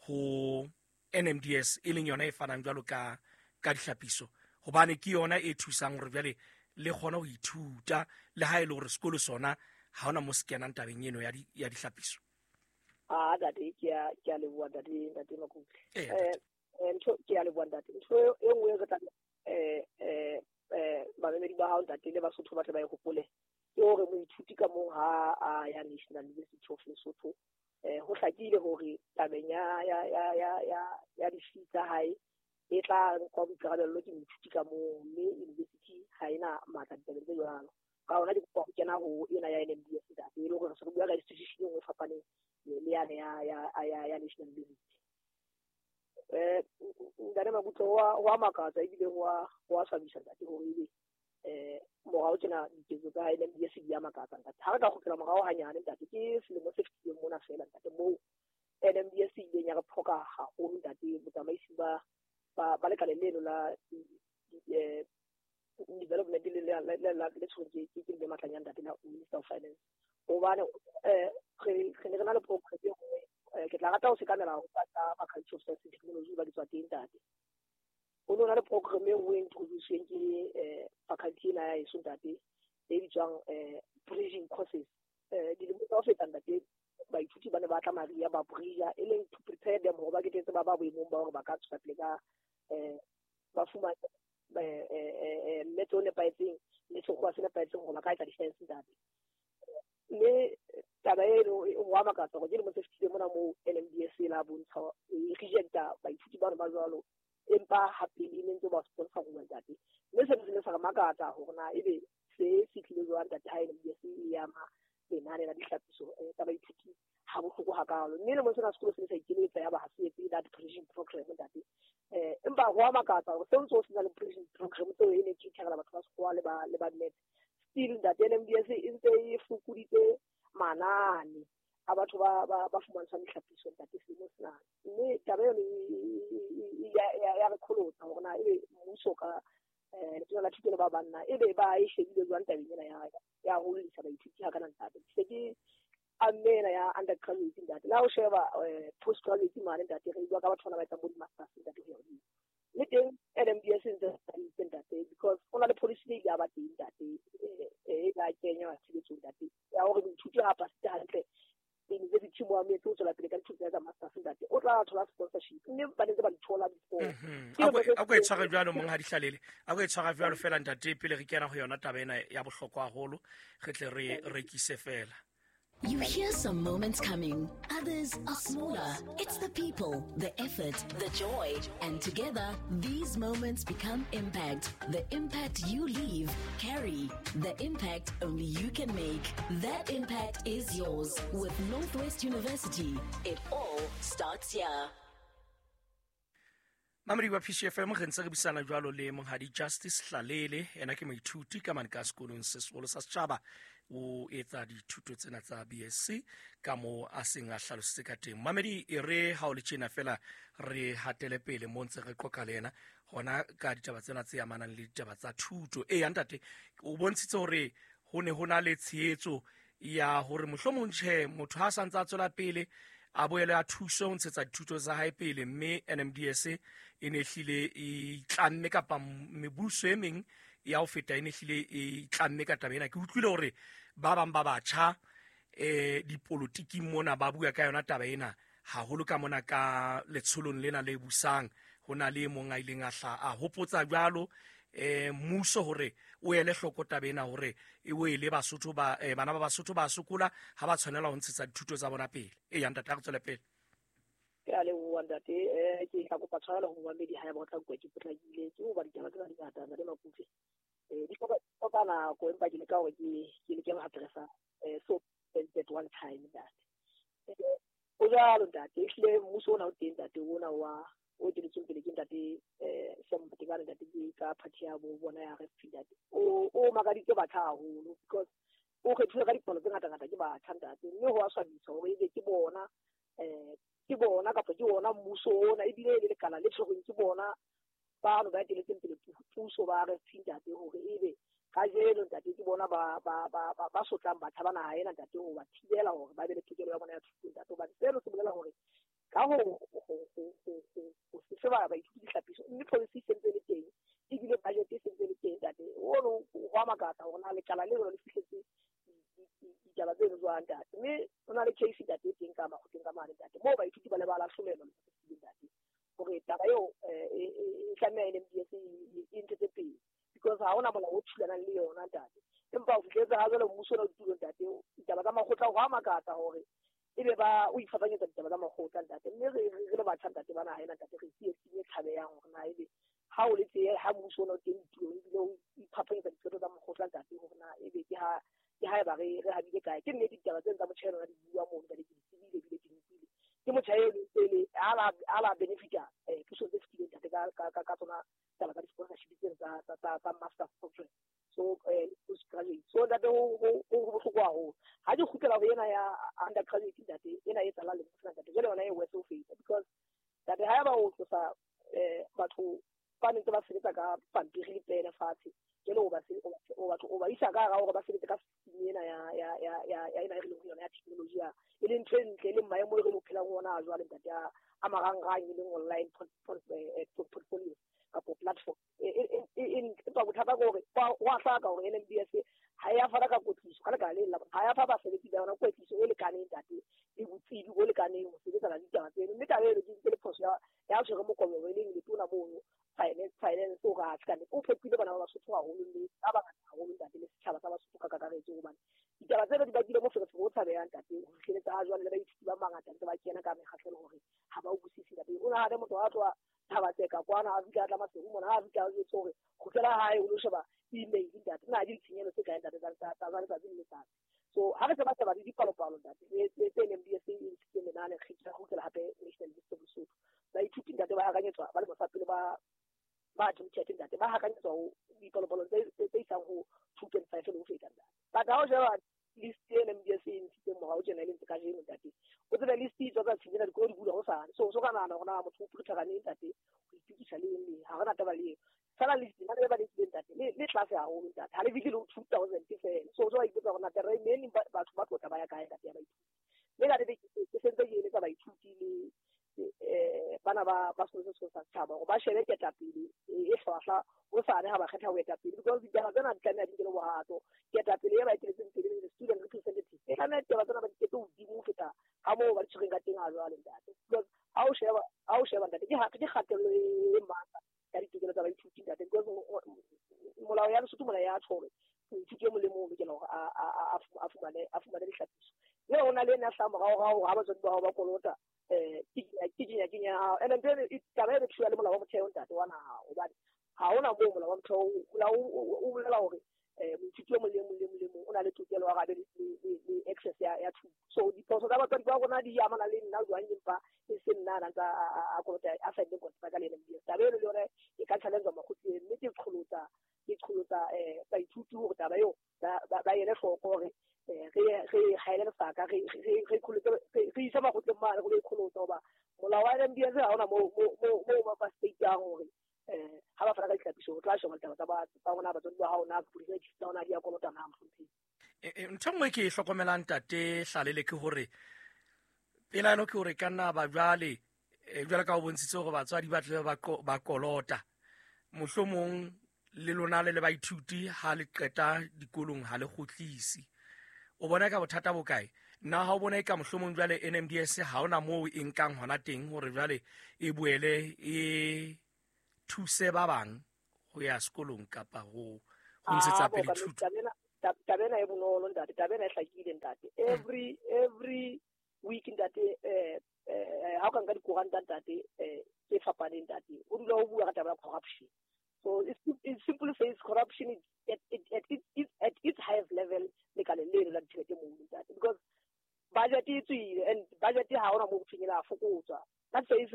ho N M D S e leng yona e fanang jwalo ka ka dihlapiso, hobane ke yona e thusang hore jwale le kgone ho ithuta le ha e le hore sekolo sona ha hona mo se kenang tabeng eno ya di ya dihlapiso. Ah ntate, ke a ke a leboha ntate, ntate Makutle. Eh ntho ke a leboha ntate. Ntho e nngwe re tla eh eh eh bamamedi ba hao ntate le Basotho ba tle ba e hopole ke hore moithuti ka mong ha a ya National University of Lesotho, eh ho hlakile hore tabeng ya ya ya ya ya ya di-fee tsa hae e tla nkwa boikarabello ke moithuti ka mong, mme university ha ena matla ditabeng tse jwalo. Ka hona ke kopa ho kena ho ena ya N M D S ntate, e le hore re se re bua ka institution e nngwe e fapaneng le yane ya ya ya ya National University. Eh ntate Makutle, ho a makatsa ebile ho a ho a swabisa ntate hore ebe eh morao tjena diketso tsa N M D S di a makatsa ntate. Ha re ka kgutlela morao hanyane ntate, ke selemo se fetileng mona fela ntate moo N M D S e ileng ya re phoka haholo ntate. Botsamaisi ba ba ba lekaleng leno la eh development le le le le tshwerwe ke ke le Matlanyana ntate la Minister of Finance, hobane eh re re ne re na le program e nngwe. Ke tla rata ho sekamela ho tsa Faculty of Science and Technology ba di tswa teng ntate. Ho no na le program e nngwe e introduce-weng ke eh faculty ena ya heso ntate e bitswang eh bridging courses. Eh dilemo tsa ho feta ntate, baithuti ba ne ba tla maria ba bridge, e leng to prepare them hore ba ketetse ba ba boemong ba hore ba ka tswela pele ka eh ba fumane eh eh mmetso o nepahetseng le sekgowa se nepahetseng hore ba ka etsa di-science ntate. Mme taba eno ho a makatsa hore ke dilemo tse fetileng mona moo N M D S e la bontsha e rejecta baithuti bano ba jwalo, empa hape e ne ntse ba sponsor ho ntate. Mme sena se ne sa re makatsa hore na ebe se se tlile jwang ntate ha N M D S e ama lenane la dihlapiso tsa baithuti ha bohloko hakalo. Mme lemong sena sekolo se ne sa ikeletsa ya ba ha se etse that bridging program ntate. Eh empa ho a makatsa hore se ntse o sena le bridging program tseo e ne ke tshegela batho ba sekgowa le ba le ba net. Still ntate N M D S e ntse e fokoditse manane a batho ba ba ba fumantshwang dihlapiso ntate selemo sena. Mme taba eno ya ya re kholotsa hore na ebe mmuso ka eh letona la thuto le ba banna ebe ba e shebile jwang tabeng ena ya ya ho lisa baithuti ha kana ntate. Se ke amme ena ya undergraduate ntate, la ho sheba postgraduate mane ntate, re bua ka batho bana ba etsang bo di-masters ntate ho ya hodimo. Le teng N M D S e ntse ntate, because ho na le policy e ile ya ba teng ntate e la kenywa tshebetsong ntate ya hore moithuti ha pasitse hantle university mo ametse o tswela pele ka dithuto tsa masters ntate, o tla thola sponsorship, mme ba ntse ba di thola before. A ko e tshware jwalo monghadi Hlalele, a ko e tshwara jwalo fela ntate pele re kena ho yona taba ena ya bohlokwa haholo, re tle re rekise fela. You hear some moments coming, others are smaller. It's the people, the effort, the joy. And together, these moments become impact. The impact you leave, carry. The impact only you can make. That impact is yours. With Northwest University, it all starts here. Mamedi wa P C F M, re ntse re buisana jwalo le monghadi Justice Hlalele, ena ke moithuti ka mane ka sekolong se seholo sa setjhaba, o etsa dithuto tsena tsa B S C ka mo a seng a hlalositse ka teng. Mamedi, e re ha o le tjena fela re hatele pele mo ntse re qoqa le yena hona ka ditaba tsena tse amanang le ditaba tsa thuto. E ya ntate, o bontshitse hore ho ne ho na le tshehetso ya hore mohlomong tjhe motho ha sa ntse a tswela pele a boele a thuso ho ntshetsa dithuto tsa hae pele, mme N M D S e ne hlile e tlamme kapa mebuso e meng ya ho feta e ne hlile e tlamme ka taba ena. Ke utlwile hore ba bang ba batjha eh dipolotiking mona ba bua ka yona taba ena haholo ka mona ka letsholong lena le busang. Ho na le e mong a ileng a hla a hopotsa jwalo eh mmuso hore o ele hloko taba ena hore e wele Basotho ba eh, bana ba Basotho ba sokola ha ba tshwanela ho ntshetsa dithuto tsa bona pele. E ya ntate, a re tswele pele. Ke a leboha ntate. Eh ke tla kopa tshwarelo ho momamedi ha eba o tla utlwa ke potlakile, ke hoba ditaba tsena di ngata ntate Makutle. Eh di hloka hloka nako, empa ke leka hore ke ke leke ho addressa eh so at one time ntate. Eh, o jwalo ntate, ehlile mmuso ona o teng ntate, ona wa o eteletsweng pele ke ntate eh Sam Matekane ntate, ke ka party ya bo bona ya R F P ntate. O o makaditse batjha haholo because o kgethilwe ka dipalo tse ngata-ngata ke batjha ntate, mme ho a swabisa hore ebe ke bona eh ke bona kapa ke ona mmuso ona, ebile e le lekala le tshwerweng ke bona bano ba eteletseng pele puso ba R F P ntate, hore ebe kajeno ntate ke bona ba ba ba ba, ba sotlang batjha ba naha ena ntate, ho ba thibela hore ba be le tokelo ya bona ya thuto ntate. Hobane seno se bolela hore ka ho ho ho ho ho ho se fe ba baithuti dihlapiso, mme policy e sentse le teng, ebile budget e sentse le teng ntate. Ono ho a makatsa hore na lekala le lona le fihletse ditaba tseno jwang ntate. Mme ho na le case ntate e teng ka makgotleng ka mane ntate, moo baithuti ba le ba lahlolelwa ntate hore taba eo e e tlameha N M D S e ntshetse pele because ha hona molao o thulanang le yona ntate. Empa ho fihletse ha jwale mmuso ona o ditulong ntate, ditaba tsa makgotla ho a makatsa hore ebe ba o iphapanyetsa ditaba tsa makgotla ntate. Mme re re le batjha ntate ba naha ena ntate, re tsietsing e tshabehang hore na ebe ha o le tse ha mmuso ona o teng ditulong ebile o iphapanyetsa diqeto tsa makgotla ntate, hore na ebe ke ha ke ha eba re re habile kae. Ke nnete ditaba tseno tsa motjha ena di bua mono ntate, ke di tsebile ebile ke di utlwile. Ke motjha eno pele ha la ha la benefita eh pusong tse fetileng ntate ka ka ka tsona taba tsa di-sponsorship tseno tsa tsa tsa tsa master program, so eh postgraduate. So ntate ho ho ho bohloko haholo. Ha ke kgutlela ho ena ya undergraduate ntate, ena e tsala le motho ntate, jwale yona e worse ho feta because ntate ha eba o tlosa eh batho ba ntse ba sebetsa ka pampiri le pene fatshe, jwale o ba o batho o ba isa ka hara hore ba sebetse ka system ena ya ya ya ya ya ena e re leng ho yona ya technology ya, e leng ntho e ntle, e leng maemo e re phelang ho ona a jwale ntate, a a marangrang, e leng online portfolio kapo platform. Empa bothata ke hore ho a hlaka hore N M D S ha ya fana ka kwetliso ka lebaka le la ha ya fa basebetsi ba yona kwetliso e lekaneng ntate, le botsebi bo lekaneng ho sebetsana le ditaba tseno. Mme taba eno ke ntse le phoso ya ya tshwere mokobo e leng letona mono finance finance o ra ka o phepile bana ba Basotho haholo, mme ba bangata haholo ntate, le setjhaba sa Basotho ka kakaretso, hobane ditaba tseno di bakile moferefere o tshabehang ntate. Ho fihleletsa ha jwale le baithuti ba bangata ntse ba kena ka mekgahlelo hore ha ba utlwisise ntate. O nahane motho a tloha Thaba-Tseka kwana a fihla a tla Maseru mona, ha a fihla a jwetse hore kgutlela hae o lo sheba email ntate, na di ditshenyehelo tse kae ntate tsa tsa letsatsi le letsatsi. So ha re se ba sheba le dipalopalo ntate tse tse N M D S e ntshitseng lenane, re tla kgutlela hape National List of Lesotho. Baithuti ntate ba hakanyetswa ba lemo sa pele ba ba admitted ntate, ba hakanyetswa ho dipalopalo tse tse isang ho two point five le ho feta ntate. But ha o sheba list e N M D S e ntshitseng morao tjena e leng tse kajeno ntate, o tsebe list e tswa tsa tsena dikolo di bula hosane. So so ka nahana hore na motho o prepare neng ntate ho itukisa le eng, ha re na taba le eo. Fela list na le ba le tlileng ntate le le tlase haholo ntate, ha le fihle le ho two thousand feela. So so ba ipotsa hore na taba e neng batho ba tlo tla ba ya kae ntate ya baithuti. Mme ka nnete ke sentse ke eletsa baithuti le eh bana ba ba sekolo se sa setjhaba hore ba shebe ketapele e hlwahlwa hosane ha ba kgetha ho etapele, because ditaba tsena di tlameha di nkele bohato. Ketapele e ba eteletseng pele le student representative e tlameha ditaba tsena ba di kete hodimo ho feta ka moo ba di tshwereng ka teng ha jwale ntate. Because ha o sheba ha o sheba ntate ke ke kgatello e matla ya ditokelo tsa baithuti ntate, because molao ya Lesotho mona ya tjho hore moithuti e mong le mong o lokela hore a a a fumane a fumane dihlapiso. Mme ho na le ena hlahang moraorao hore ha batswadi ba hao ba kolota eh ke kenya kenya hao. Ene ntho eno taba eno thula le molao wa motheo ntate wa naha, hobane ha hona moo molao wa motheo o bolela hore eh moithuti e mong le mong le mong le mong o na le tokelo ya hore a be le access ya ya thuto. So diphoso tsa batswadi ba rona di amana le nna jwang, empa e se nna a ntsa a kolota a saenne kontraka le N M D S. Taba eno le yona e ka challenge makgotleng, mme ke qholotsa ke qholotsa eh baithuti hore taba eo ba ba ele hloko hore re re haele lesaka re re re kholotse re isa makgotleng mane go le kholotsa, hoba molao wa N M D S ha hona mo mo mo ba state-ang hore eh ha ba fana ka ditlhapiso ho tla sheba ditaba tsa ba tsa rona batswadi ba hao na di tsa rona di a kolota na mohlomphehi. Ntho nngwe ke e hlokomelang ntate Hlalele ke hore pelaelo ke hore ka nna ba jwale jwale ka ho bontshitse hore batswadi ba tle ba kolota, mohlomong le lona le le baithuti ha le qeta dikolong ha le kgutlise. O bona ka bothata bo kae? Nna ha o bona ka mohlomong jwale N M D S ha ona moo e nkang hona teng hore jwale e boele e thuse ba bang ho ya sekolong kapa ho ho ntshetsa pele thuto? Taba ena e bonolo ntate, taba ena e hlakile ntate. Every every week ntate, eh eh ha o ka nka dikoranta ntate, eh tse fapaneng ntate, ho dula ho bua ka taba ya corruption. So it, it simply says corruption is at, at, at, at, at its highest level lekaleng leno la ditjhelete moo ntate, because budget e tswile and budget ha hona moo ho thweng e la fokotswa. That says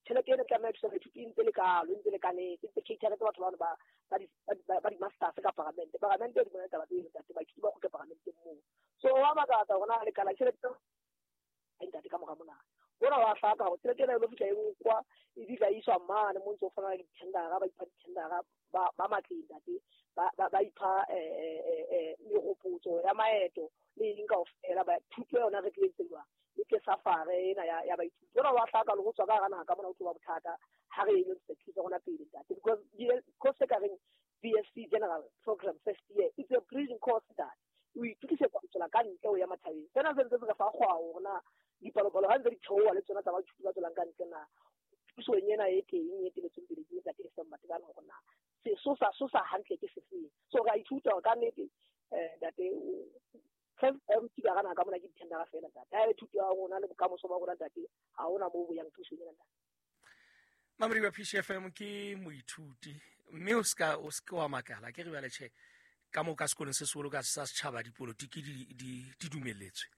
tjhelete ena tlameha thusa baithuti e ntse le kalo, e ntse lekanetse, e ntse cater-etse batho bano ba ba di-masters ka paramente. Paramente di bona taba tseo ntate, baithuti ba kgutle paramenteng moo. So wa makatsa hore na lekala tjhelete ntate ka mora mona. Hona wa hlaka hore tjhelete ena e lo fihla e nkwa e bitla iswa mane mo ntse o fana le di-tendera, ba ipha di-tendera ba ba matleng ntate, ba ba ipha eh meropotso ya maeto le eng kaofela, ba thuto yona re tletse jwang le ke safari ena ya ya baithuti. Hona wa hlaka le ho tswa ka hara naha ka mona ho tloba bothata ha re ilo thusa rona pele ntate, because course e ka reng B S C General Program first year, it's a bridging course ntate. O itukisetsa ho tswela ka ntle ho ya matjhabeng. Sena se ntse se re fa kgwao hore na dipalopalo ha ntse di theoha le tsona tsa baithuti ba tswelang ka ntle na pusong ena e teng e eteletsweng pele ke ntate Sam Matekane hore na sesosa sosa hantle ke sefeng. So re a ithuta hore ka nnete eh ntate first ruti ka hara naha ka mona ke di-tendera feela ntate. Ha e le thuto ya rona le bokamoso ba rona ntate, ha hona moo bo yang pusong ena ntate. Mamedi wa P C F M ke moithuti mme o ska o ska wa makala ke re bale tjhe ka mo ka sekolong se seholo ka sa setjhaba dipolotiki di di di dumelletswe.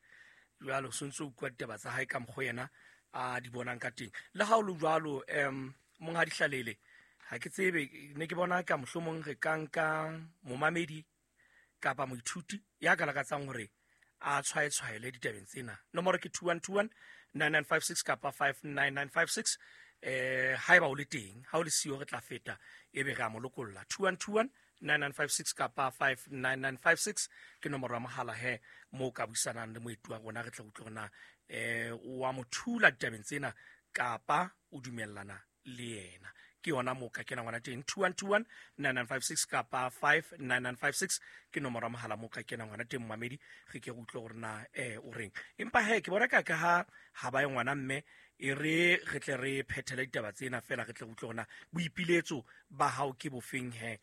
Jwalo so ntse o utlwa ditaba tsa hae ka mokgwa yena a di bonang ka teng. Le ha o le jwalo em monghadi Hlalele, ha ke tsebe ne ke bona ka mohlomong re ka nka momamedi kapa moithuti ya ka lakatsang hore a tshwaetshwaele ditabeng tsena. Nomoro ke two one two one nine nine five six kapa five nine nine five six. Eh haeba o le teng, ha o le siyo re tla feta ebe re a mo lokolla. two one two one nine nine five six kapa five nine nine five six ke nomoro ya mohala he mo ka buisanang le moeti wa rona, re tla utlwa hore na eh wa mo thula ditabeng tsena kapa o dumellana le yena. Ke yona mo ka kenang ngwana teng two one two one nine nine five six kapa five nine nine five six ke nomoro ya mohala mo ka kenang ngwana teng momamedi, re ke re utlwe hore na eh o reng. Empa he ke bona ka ka ha ha ba ye ngwana mme e re re tle re phethele ditaba tsena fela, re tle re utlwe hore na boipiletso ba hao ke bofeng he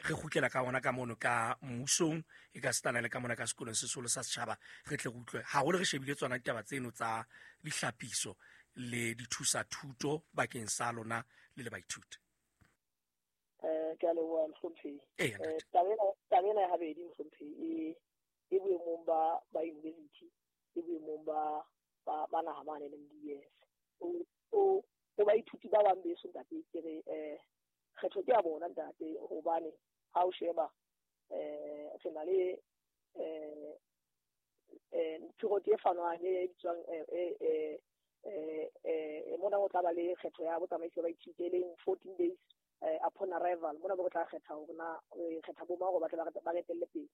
re kgutlela ka ona ka mono ka mmusong e ka setana le ka mona ka sekolong se seholo sa setjhaba, re tle re utlwe haholo re shebile tsona ditaba tseno tsa dihlapiso le dithusa thuto bakeng sa lona le le baithuti. Eh ke a leboha mohlomphehi. Eh taba ena ya habedi mohlomphehi e e boemong ba ba university, e boemong ba ba ba naha mane le M D S. O o o baithuti ba bang beso ntate ke re eh kgetho ke ya bona ntate, hobane ha o sheba eh re na le eh eh tiro e fanwang e bitswang eh eh eh mona o tla ba le kgetho ya botsamaisi ba baithuti e leng fourteen days upon arrival. Mona bo tla kgetha hore na kgetha bo mang hore ba tle ba etelle pele.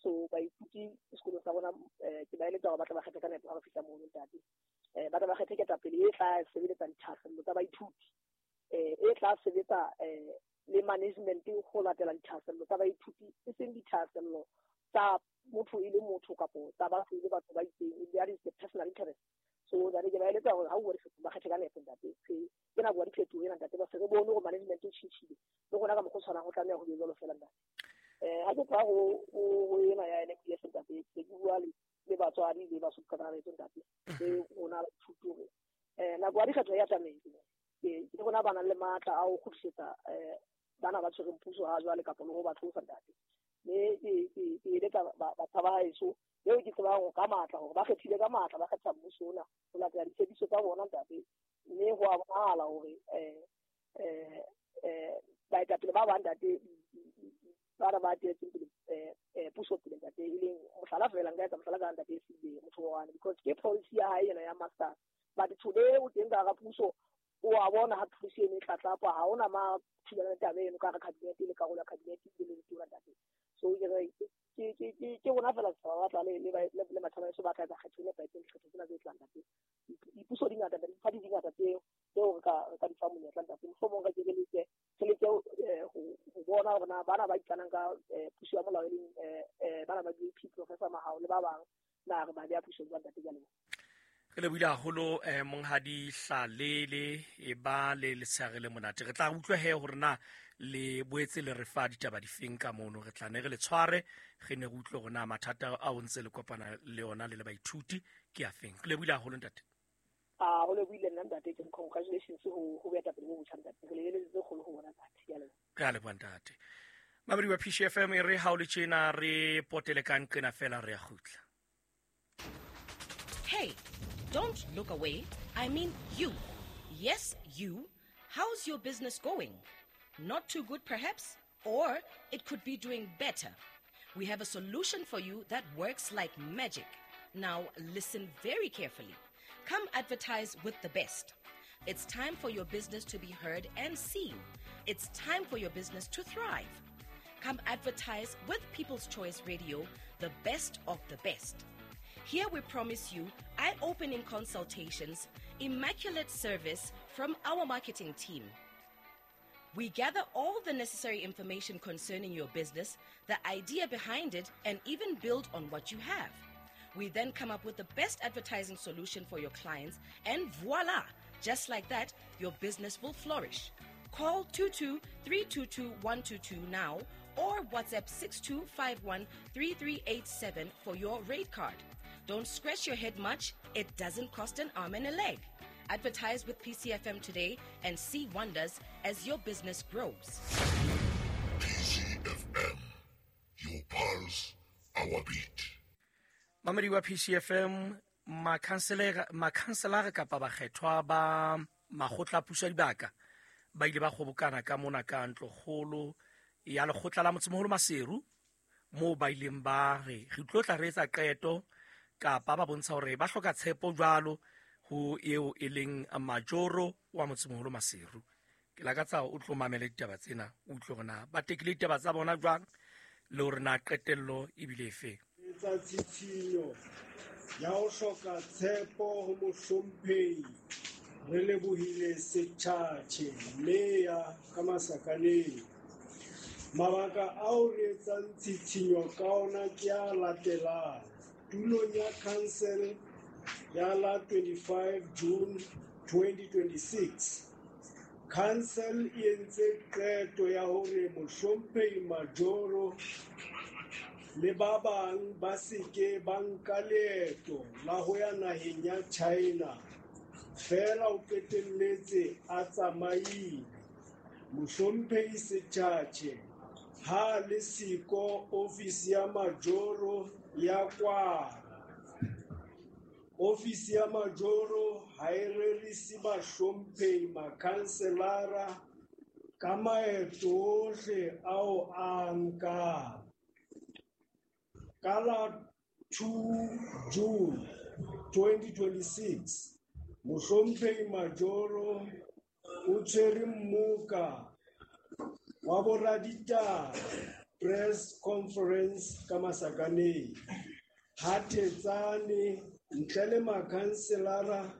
So baithuti sekolong sa rona ke ba eletsa hore ba tle ba kgethe ka nepo ha ba fihla mono ntate. Eh ba tle ba kgethe ketapele e tla sebeletsa dithahasello tsa baithuti, eh e tla sebetsa eh le management ho latela dithahasello tsa baithuti, e seng dithahasello tsa motho e le motho kapo tsa batho e le batho ba itseng. That is the personal interest. So that ke ba eletsa hore ha o bua ba kgethe ka nepo ntate. Ke nako ya diphetoho ena ntate, ba se re bone hore management e tjhentjhile le rona ka mokgwa o tshwanang ho tlameha ho be jwalo fela ntate. Eh ha ke tloha ho ho ena ya N M D S ntate, ke bua le le batswadi le basotho ka kakaretso ntate, le rona baithuti hore eh nako ya dikgetho ya tlamehile ke ke rona ba nang le matla a ho kgutlisetsa eh bana ba tshwereng puso ha jwale kapa le ho ba tlosa ntate. Mme ke ke ke eletsa batho ba haeso eo ke tsebang hore ka matla hore ba kgethile ka matla, ba kgetha mmuso ona ho latela ditshepiso tsa bona ntate. Mme ho a bonahala hore eh eh eh baetapele ba bang ntate ba ba etetseng pele eh puso pele ntate, e leng mohlala fela nka etsa mohlala ka ntate Sibe motho wa because ke policy ya hae ena ya master. But today o teng ka hara puso o a bona ha policy eno e tlatlapa, ha hona ma thulana le taba eno ka hara cabinet le karolo ya cabinet le le letona ntate. So ke re ke ke ke ke rona fela setjhaba ba tla le le le matjhaba eso ba tla etsa kgetho e nepahetseng dikgetho tsena tse tlang ntate. Dipuso di ngata, diphathi di ngata tseo tseo re ka re ka di fa monyetla ntate. Mohlomong re ke re leke re leke ho ho bona hore na bana ba ikanang ka puso ya molao e leng bana ba B P Professor Mahao le ba bang na re ba beha puso jwang ntate. Ke a leboha. Re lebohile haholo eh, monghadi Hlalele, e ba le letshehare le monate. Re tla utlwa he hore na le boetse le re fa ditaba difeng ka mono. Re tla ne re le tshware, re ne re utlwe hore na mathata ao ntse le kopana le ona le le baithuti ke afeng. Re lebohile haholo ntate. A ho lebohile nna ntate, ke congratulations ho ho boetapele bo botjha ntate. Re lebeletse tse kgolo ho bona ntate. Ke a leboha. Re a leboha ntate. Mamedi wa P C F M, e re ha o le tjena re potele ka nqena fela re a kgutla. Hey, don't look away. I mean you. Yes, you. How's your business going? Not too good, perhaps? Or it could be doing better. We have a solution for you that works like magic. Now, listen very carefully. Come advertise with the best. It's time for your business to be heard and seen. It's time for your business to thrive. Come advertise with People's Choice Radio, the best of the best. Here we promise you eye-opening consultations, immaculate service from our marketing team. We gather all the necessary information concerning your business, the idea behind it, and even build on what you have. We then come up with the best advertising solution for your clients, and voila! Just like that, your business will flourish. Call two two three two two one two two now or WhatsApp six two five one three three eight seven for your rate card. Don't scratch your head much. It doesn't cost an arm and a leg. Advertise with P C F M today and see wonders as your business grows. P C F M, your pulse, our beat. Mamedi wa P C F M, makhanselara kapa bakgethwa ba makgotla a puso ya dibaka ba ile ba kgobokana ka mona ka ntlokgolo ya lekgotla la motsemoholo Maseru, moo ba ileng ba re re tlo tla re etsa qeto kapa ba bontsha hore ba hloka tshepo jwalo ho eo e leng majoro wa motsemoholo Maseru. Ke lakatsa o tlo mamele ditaba tsena, o utlwe hore na ba tekile ditaba tsa bona jwang le hore na qetello ebile efe. Etsa tshitshinyo ya ho hloka tshepo ho mohlomphehi re lebohile Setjhatjhe meya ka masakaneng. Mabaka ao re etsang tshitshinyo ka ona ke a latelang. Tulong ya council ya la twenty-five June twenty twenty-six, council e entse qeto ya hore mohlomphehi Majoro le ba bang ba seke ba nka leeto la ho ya naheng ya China. Feela o qetelletse a tsamaile. Mohlomphehi Setjhatjhe ha le siko ofisi ya Majoro ya kwala. Ofisi ya Majoro ha e rerise bahlomphehi makhanselara ka maeto ohle ao a nkang. Ka la two June twenty twenty-six, mohlomphehi Majoro o tshwere mmoka wa boraditaba press conference ka Masakaneng. Ha Thetsane ntle le makhanselara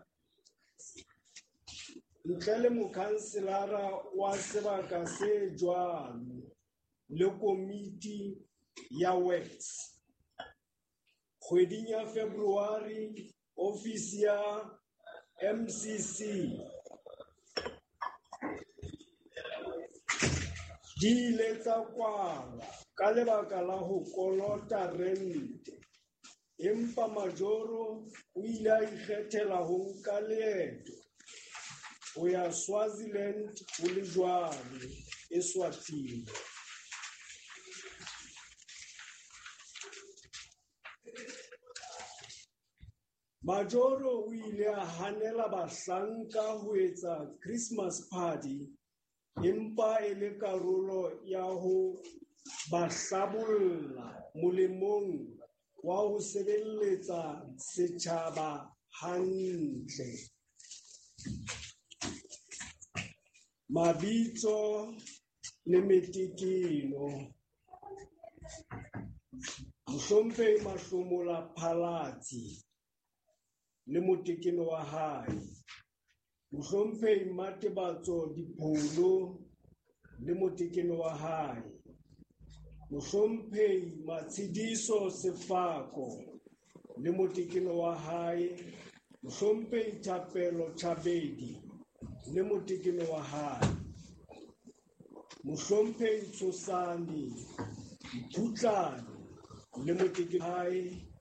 ntle le mokhanselara wa sebaka se jwalo le komiti ya works. Kgweding ya February, ofisi ya M C C di ile tsa kwalwa ka lebaka la ho kolota rente. Empa Majoro o ile a ikgethela ho nka leeto ho ya Swaziland ho le jwalo Eswatini. Majoro o ile a hanela bahlanka ho etsa Christmas party empa e le karolo ya ho ba hlabolla molemong wa ho sebeletsa setjhaba hantle. Mabitso le metekeno. Mohlomphehi Mahlomola Phalatsi le motekeno wa hae. Mohlomphehi Matebatso Dipholo le motekeno wa hae. Mohlomphehi Matshidiso Sefako le motekeno wa hae Mohlomphehi Thapelo Chabedi le motekeno wa hae. Mohlomphehi Tshosane Mphutlane le motekeno wa hae.